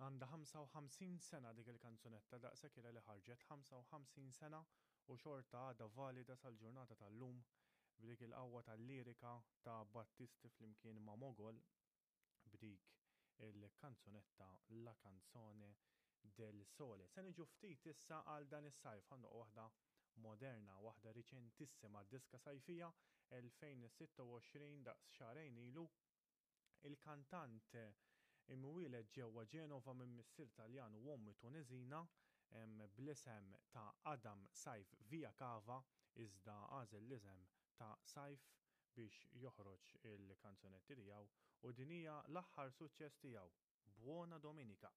Għandha 55 sena dik il-kanzunetta, daqshekk ilha li ħarġet, 55 sena u xorta għadha valida sal-ġurnata tal-lum b'dik il-qawwa tal-lirika ta' Battisti flimkien ma' Mogol b'dik il-kanzunetta La Canzone del Sole. Se niġu ftit issa għal dan is-sajf, ħa ndoqqu waħda moderna, waħda riċentissima, diska sajfija 2026 daqs xahrejn ilu. Il-kantant imwieled ġewwa Ġenova minn missier Taljan u omm Tuneżina bl-isem ta' Adam Saif Viacava iżda għażel l-isem ta' Saif biex joħroġ il-kanzunetti tiegħu u din hija l-aħħar suċċess tiegħu, Buona Domenica.